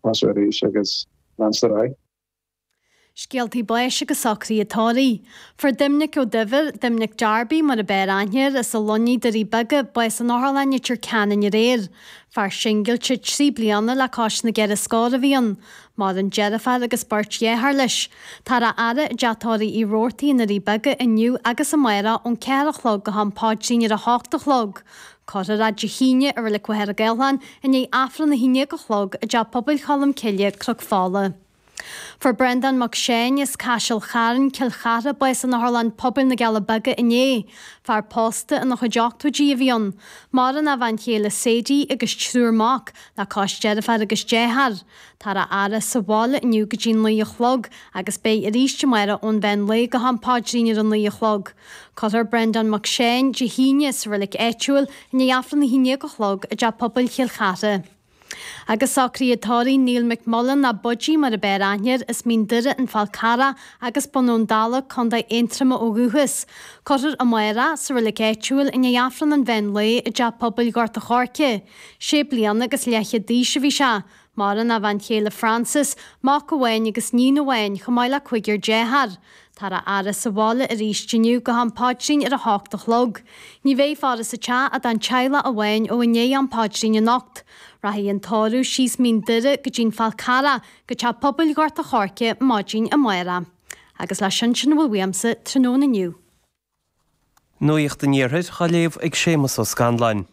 tosú arís agus leanstan ar aghaidh. Scéaltaí báis agus socruithe tórraimh. Fuair Doimnic Ó Duibhir, Doimnic Darby mar a b'fhearr aithne air, as an Luinnigh, Doirí Beaga, bás in Otharlann Leitir Ceanainn aréir. Fear singilte 3 bliana le cois na gceithre scór a bhí ann. Maireann deirfiúr agus beirt dheartháir leis. Táthar á fhaire i dTeach Tórraimh Uí Robhartaigh i nDoirí Beaga inniu agus amárach ón 4 a chlog go ham paidrín ar a hocht a chlog. Cuirfear é Dé hAoine i Reilig Mhachaire Gathlán i ndiaidh Aifreann 11 a chlog i dTeach Pobail Cholm Cille, Cnoc Fola. Fuair Breandán Mac Seáin as Caiseal Chairn, Cill Chartha, bás in Otharlann Pobail na gCealla Beaga inné. Fear pósta ina chuid ochtóidí a bhí ann. Maireann a bhean chéile Sadie agus triúr mac, le cois deirfiúr agus dearthár. Táthar á fhaire sa bhaile inniu go dtí 9 a chlog agus beidh arís amárach ón mheán lae go ham paidrín ar a 9 a chlog. Cuirfear Breandán Mac Seáin Dé hAoine sa reilig áitiúil i ndiaidh Aifreann 11 a chlog i dTeach Pobail Chill Chartha. Agus socruithe tórraimh Neil McMullen nó Budgie mar a b'fhearr aithne air as Mín Doire, An Fál Carrach agus Bun Abhann Dalla, Co. Aontroma ó dhúchas. Cuirfear amárach sa reilig áitiúil i ndiaidh Aifreann an mheán lae i dTeach Pobail Ghort a' Choirce. Sé bliana agus leathchéad d'aois a bhí sé. Maireann a bhean chéile Frances, mac amháin agus níon amháin, chomh maith le cúigear dearthár. Táthar á fhaire sa bhaile arís inniu go ham paidrín ar a hocht a chlog. Ní bheidh faire sa teach ach don teaghlach amháin ó i ndiaidh am paidrín anocht. Rachaidh an tórramh síos Mín Doire go dtí'n Fál Carrach go Teach Pobail Ghort a' Choirce maidin amárach. Agus leis sin, sin a bhfuil uaimse tráthnóna inniu. Nuacht an Iarthair á léamh ag Séamus Ó Scanláin.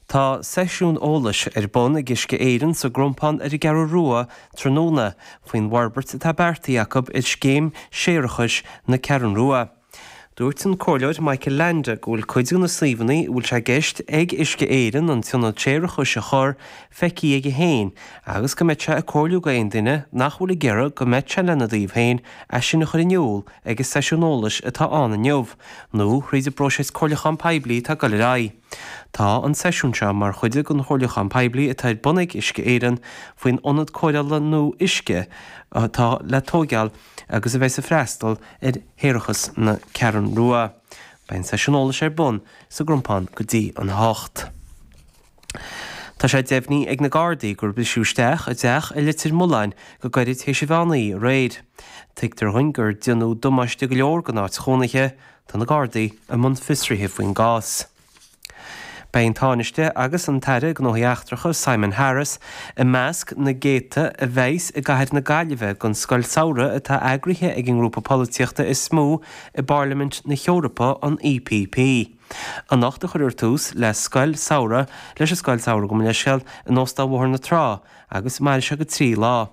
Tá seisiún eolais ar bun ag Uisce Éireann sa gCrompán ar an gCeathrú Rua tráthnóna faoin bhforbairt atá beartaithe acu ar scéim séarachais na Ceathrún Rua. Dúirt an Comhairleoir Michael Leainde go bhfuil cuid de na suíomhanna a bhfuil sé i gceist ag Uisce Éireann an t-ionad séarachais a chur feicthe aige féin agus go mbeadh sé ag comhairliú go aon duine nach bhfuil ag iarraidh go mbeadh sé lena dtaobh féin é sin a chur in iúl ag an seisiún eolais atá ann inniu, nó thríd an bpróiseas comhairliúcháin poiblí atá ag dul ar aghaidh. Tá an seisiún seo mar chuid den chomhairliúchán poiblí atá ar bun ag Uisce Éireann faoin ionad cóireála nua uisce atá le tóigeáil agus a bheas ag freastal ar shéarachas na Ceathrún Rua. Beidh an seisiún eolais ar bun sa gCrompán go dtí an 8. Tá sé deimhnithe ag na Gardaí gur briseadh isteach i dteach i Leitir Mealláin go gairid théis an mheán oíche aréir. Tuigtear dhúinn gur déanadh damáiste go leor don áit chónaithe. Tá na Gardaí i mbun fiosraithe faoin gcás. Beidh an Tánaiste agus an tAire Gnóthaí Eachtracha Simon Harris i measc na gcéadta a bheas i gcathair na Gaillimhe don scoil samhraidh atá eagraithe ag an ngrúpa polaitíochta is mó i bPairlimint na hEorpa, an EPP. Anocht a cuirfear tús le scoil samhraidh leis an scoil samhraidh gabh mo leithscéal in Óstán Bhóthar na Trá agus mairfidh sé go 3 lá.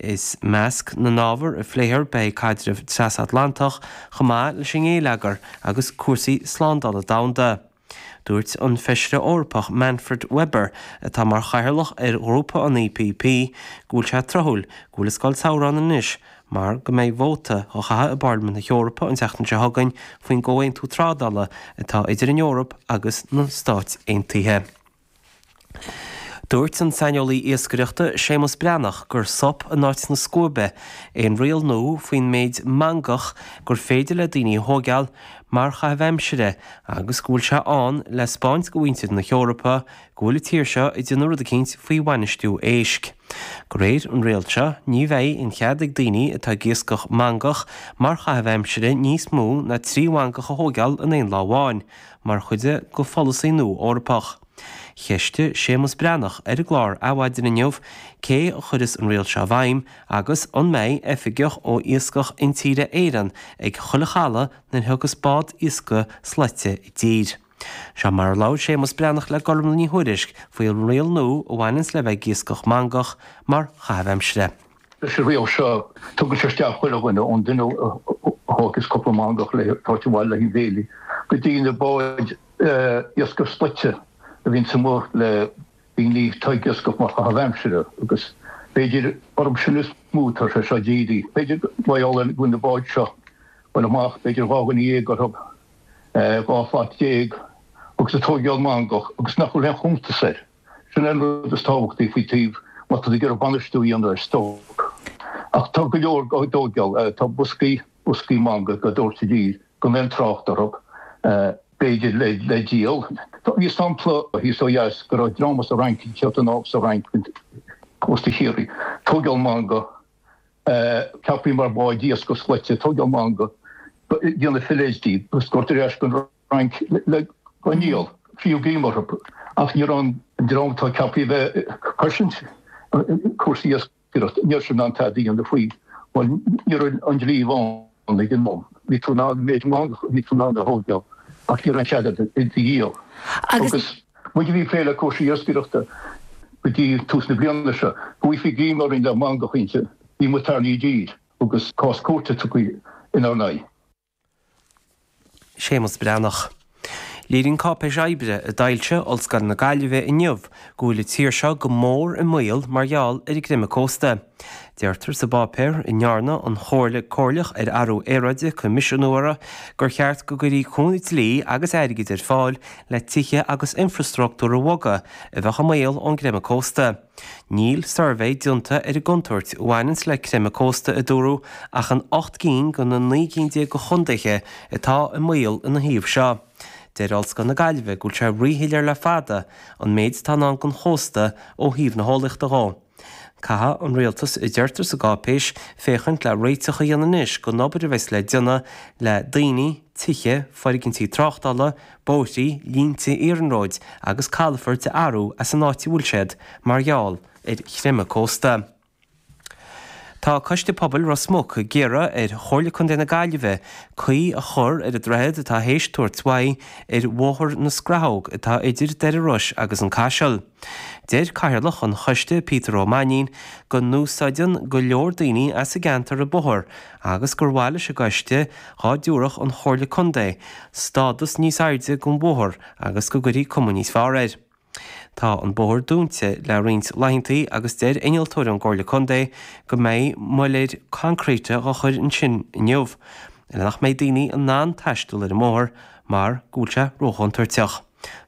I measc na n-ábhar a phléifear beidh caidreamh trasatlantach chomh maith leis an ngéilleagar agus cúrsaí slándála domhanda. Dúirt an Feisire Eorpach Manfred Weber, atá mar chathaoirleach ar ghrúpa an EPP, go bhfuil sé tráthúil go bhfuil an scoil samhraidh ann anois mar go mbeidh vóta á chaitheamh i bPairlimint na hEorpa an tseachtain seo chugainn faoin gcomhaontú trádála atá idir an Eoraip agus na Stáit Aontaithe. Dúirt an saineolaí iascaireachta Séamus Breathnach gur sop in áit na scuaibe é an riail nua faoin méid mangach gur féidir le daoine a thóigeáil mar chaitheamh aimsire agus go bhfuil sé ann le 'spáint go mhuintir na hEorpa go bhfuil an tír seo ag déanamh rud eicínt faoi bhainistiú éisc. De réir an riail seo, ní bheidh aon chead ag daoine atá ag iascach mangach mar chaitheamh aimsire níos mó ná 3 mhangach a thóigeáil in aon lá amháin, mar chuid de pholasaí nua Eorpach. Cheistigh Séamus Breathnach ar an gclár Adhmhaidin inniu cé a chuirfeas an riail seo i bhfeidhm agus an mbeidh oifigeach ó Iascach Intíre Éireann ag chuile chaladh nuair a thiocfas bád iascaigh slaite i dtír. Seo mar a labhair Séamus Breathnach le Gormlaith Ní Thuairisg faoi an riail nua a bhaineanns le bheith ag iascach mangach mar chaitheamh aimsire. Leis an riail seo, tugann sé isteach chuile dhuine, ón duine a thógfas cúpla mangach le tabhairt abhaile le haghaidh béilí, go dtí na báid iascaigh slaite a bhíonns amuigh le daoine atá ag iascach mar chaitheamh aimsire agus b'fhéidir orthu sin is mó atá sé seo dírithe. B'fhéidir mar gheall ar go bhfuil na báid seo ag dul amach, b'fhéidir 12 dhuine orthu. 12 shlat agus ag tóigeáil mangach agus nach bhfuil aon chuntas air. Sin é an rud is tábhachtaí faoi taobh má tá tú ag iarraidh bainistiú a dhéanamh ar stoc. Ach tá go leor á dtóigeáil. Tá boscaí, boscaí mangach á dtabhairt i dtír gan aon trácht orthu, b'fhéidir le díol. Bhí sampla thíos ó dheas go raibh dream as an Fhrainc, ag teacht anall as an Fhrainc. Cósta Chiarraí, tóigeáil mangach, ceapthaí mar bháid iascaigh slaite, tóigeáil mangach, déanamh fillets díobh agus tabhairt ar ais go Fhrainc le go ndíol, fiú greim orthu. Ach ní raibh an dream atá ceaptha a bheith ag cosaint cúrsaí iascaireachta, ní raibh siad in ann tada a dhéanamh faoi. Bhuel, ní raibh an dlí ann ag an am. Bhí tú in ann an méid mangach a bhí tú in ann a thóigeáil ach ní raibh aon chead agat iad a dhíol. Agus muid a bhí ag plé le cúrsaí iascaireachta go dtí tús na bliana seo, go bhfaighfí greim orainn le mangach inti, bhí muid tarraingthe i dtír agus cás cúirte tugtha inár n-aghaidh. Séamus Breathnach. Léiríonn cáipéis oibre a d'fhoilsigh Ollscoil na Gaillimhe inniu go bhfuil an tír seo go mór i mbaol mar gheall ar an gcreimeadh cósta. Deirtear sa bpáipéar, a ndearna an Chomhairle Comhairleach ar Athrú Aeráide coimisiúnú uirthi, gur cheart go gcuirfí cúnamh dlí agus airgid ar fáil le tithe agus infreastruchtúr a bhogadh a bheadh i mbaol ón gcreimeadh cósta. Níl suirbhé déanta ar an gcontúirt a bhaineanns le creimeadh cósta, a dúradh, ach in 8 gcinn de na 19 gcinn de chontaetha atá i mbaol ina thaobh seo. Deir Ollscoil na Gaillimhe go bhfuil sé ríshoiléir le fada an méid atá i ndán don chósta ó thaobh na heolaíochta dhó. Caithfidh an rialtas, a deirtear sa gcáipéis, féachaint le réiteach a dhéanamh anois don obair a bheas le déanamh le daoine, tithe, foirgintí tráchtála, bóithrí, línte iarnróid agus calafoirt a athrú as an áit a bhfuil siad mar gheall ar chreimeadh cósta. Tá Coiste Pobail Ros Muc ag iarraidh ar Chomhairle Contae na Gaillimhe caoi a chur ar an droichead atá théis tabhairt uaidh ar Bhóthar na Scrathóg atá idir Doire Rois agus an Caiseal. Deir Cathaoirleach an choiste Peter Ó Mainnín go n-úsáideann go leor daoine as an gceantar an bóthar agus gur mhaith leis an gcoiste dhá dtabharfadh an Chomhairle Contae stádas níos airde don bhóthar agus go gcuirfí cuma níos fearr air. Tá an bóthar dúnta le roinnt laethantaí agus deir innealtóir ón gComhairle Contae go mbeidh muiléir coincréite dhá chur ansin inniu le nach mbeidh daoine in ann taisteal ar an mbóthar mar go bhfuil sé róchontúirteach.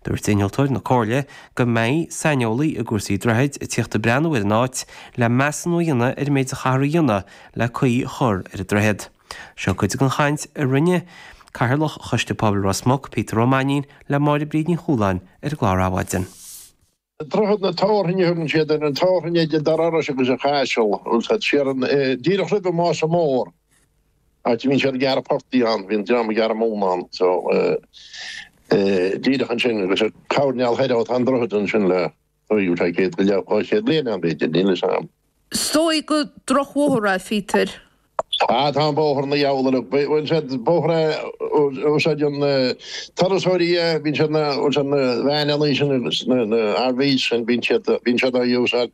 Dúirt innealtóir na Comhairle go mbeidh saineolaí i gcúrsaí droichid ag tíocht ag breathnú ar an áit le measúnú a dhéanamh ar an méid a chaithfear a dhéanamh le caoi a chur ar an droichead. Seo cuid den chaint a rinne Cathaoirleach Choiste Pobail Ros Muc, Peter Ó Mainnín, le Máire Bríd Ní Chualáin ar an gclár Adhmhaidin. Droichead na Tabharthainne a thugann siad ar an tabharthainn idir Doire Iorrais agus an Chaiseal, siar an, díreach roimh an Mása Mór, áit a mbíonn siad ag gearradh portaigh ann, bhíonn dream ag gearradh móna ann, so díreach ansin agus ar choirnéal thoir ó tá an droichead ansin le, bhfuil sé 100 go leith, 200 bliain ann b'fhéidir, níl fhios a'm. Is dóigh gur drochbhóthar é, Phíotair. Ah, tá an bóthar ina dheabhal uilig. Bhuel, sé bóthar é a úsáideann na turasóirí é, bíonn siad na, bhuel sé na veaineanna sin agus na, na RVs sin, bíonn siad, bíonn siad á úsáid.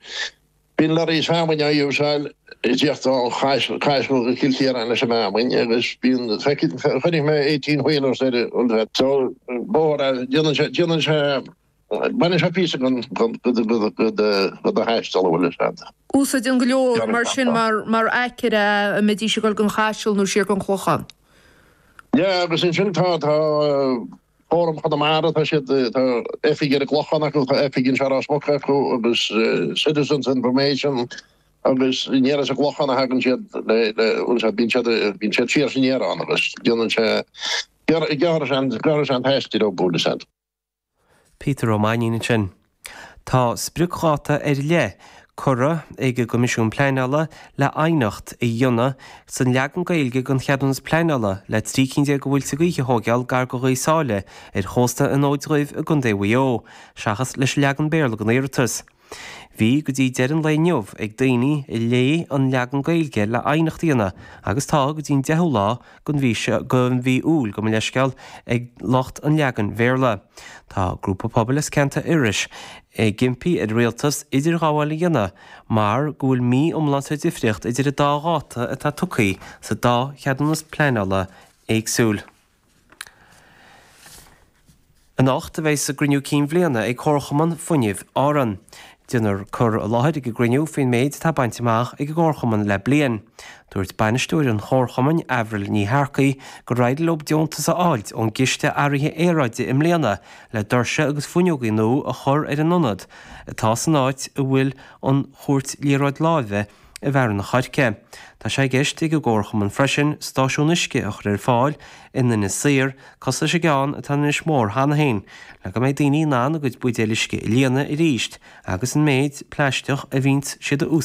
Bíonn lorries feamainne á úsáid ag tíocht ó Chaiseal go Cill Chiaráin leis an bhfeamainn agus bíonn, feicfidh, chonaic mé 18 wheelers ar, bhuel sé, so bóthar é, déanann sé, déanann sé, Baineann sé píosa den do thaisteal, an bhfuil fhios a'd. Úsáideann go leor mar sin mar aicearra é a mbeidís ag dul don Chaiseal nó siar don Chlochán. Yeah, agus ansin tá tá Fóram Chonamara, tá siad, tá oifig ar an gClochán acu, tá oifig anseo i Ros Muc acu agus Citizens Information agus aniar as an gClochán a thagann siad le, le, bhfuil fhios a'd, bíonn siad, bíonn siad siar is aniar ann agus déanann sé, gearrann sé an, gearrann sé an taisteal leo, bhfuil fhios a'd. Peter Ó Mainnín ansin. Tá spriocdháta ar leith curtha ag an gCoimisiún Pleanála le aighneacht a dhéanamh san leagan Gaeilge den cheadúnas pleanála le 13 cinn de mhuilte gaoithe a thóigeáil gar do Ghaoth Sáile ar chósta an Fhóid Dhuibh i gContae Mhaigh Eo, seachas leis an leagan Béarla den iarratas. Bhí go dtí deireadh an lae inniu ag daoine a léigh an leagan Gaeilge le aighneacht a dhéanamh agus tá go dtí an 10ú lá den mhí seo, den mhí Iúil, gabh mo leithscéal, ag lucht an leagain Bhéarla. Tá grúpa pobail as ceantar Iorrais ag impí ar an Rialtas idirghabháil a dhéanamh mar go bhfuil mí iomlán sa difríocht idir an dá dháta atá tugtha sa dá cheadúnas pleanála éagsúil. Anocht a bheas a gcruinniú cinn bhliana ag Comharchumann Fuinnimh Árann. Déanfar cur i láthair ag an gcruinniú faoin méid atá bainte amach ag an gComharchumann le bliain. Dúirt bainisteoir an Chomharchumainn, Avril Ní Shearcaigh, gur éirigh leo deontas a fháilt ón gCiste Athraithe Aeráide i mbliana le doirse agus fuinneogaí nua a chur ar an ionad atá san áit a bhfuil an chúirt liathróid láimhe. i bhFearann an Choirce. Tá sé i gceist ag an gComharchumann freisin stáisiún uisce a chur ar fáil in Inis Oírr, cosúil leis an gceann atá in Inis Mór cheana féin, le go mbeidh daoine in ann a gcuid buidéil uisce a líonadh arís agus an méid plaisteach a bhíonns siad a úsáid.